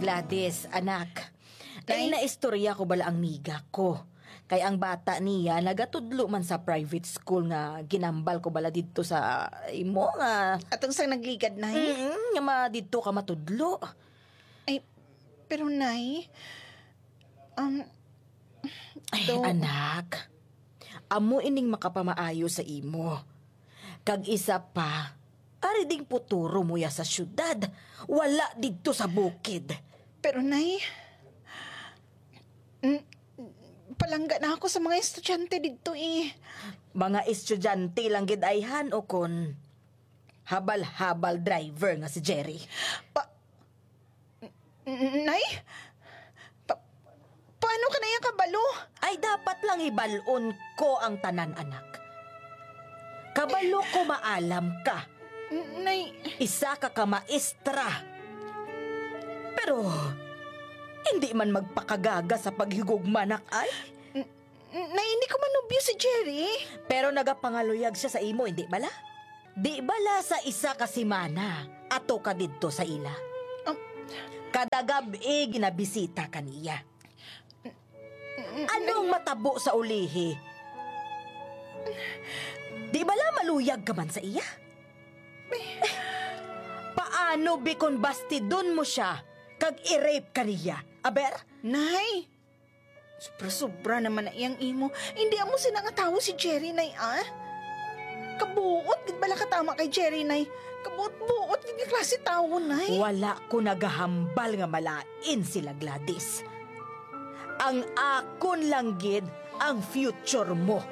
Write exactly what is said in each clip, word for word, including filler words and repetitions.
Gladys, anak. Kay Nay? Naistorya ko bala ang miga ko. Kay ang bata niya nagatudlo man sa private school nga ginambal ko bala didto sa imo nga Atong sang nagligad, Nay? Mm, nga ma-, didto ka matudlo. Ay, pero, Nay, um, Ay, do- anak. Amo ining makapamaayo sa imo. Kag isa pa, ari ding puturo mo ya sa syudad, wala didto sa bukid. Pero, Nay, n-, palangga na ako sa mga estudyante didto, eh. Mga estudyante lang gid ayhan, o kon habal-habal driver nga si Jerry. Pa-, N-, Nay? Pa-, paano ka na iya kabalo? Ay, dapat lang hibalon ko ang tanan, anak. Kabalo ko maalam ka. N-, Nay. Isa ka ka maestra. Pero, hindi man magpakagaga sa paghigugma, anak, ay. N-, Nay, hindi ko manubyo si Jerry. Pero nagapangaluyag siya sa imo, hindi bala? Di bala sa isa ka semana ato ka didto sa ila? Um, Kada gab-i ginabisita ka niya. Anong matabo sa ulihi? Di bala maluyag ka man sa iya? Paano bi kon bastidon mo siya kag i-rape ka niya? Aber? Nay! Sobra-sobra naman na iyang imo. Hindi amo sina nga tawo si Jerry, Nay, ah. Kabuot gid bala katama kay Jerry, Nay. Kabuot-buot gid nga klase tawo, Nay. Wala ko nagahambal nga malain sila, Gladys. Ang akon lang gid ang future mo.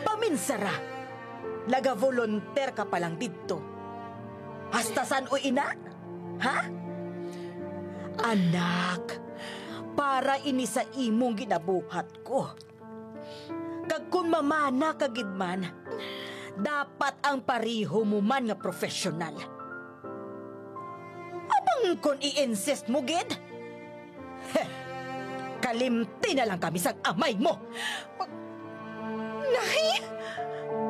Paminsara, nagavolunteer ka pa lang didto. Hasta san-o ina? Ha? Anak, para ini sa imong ginabuhat ko. Kag kun mamana ka gid man, dapat ang pareho mo man nga professional. Apang kun i-insist mo gid, heh, kalimti na lang kami sang amay mo. Nay!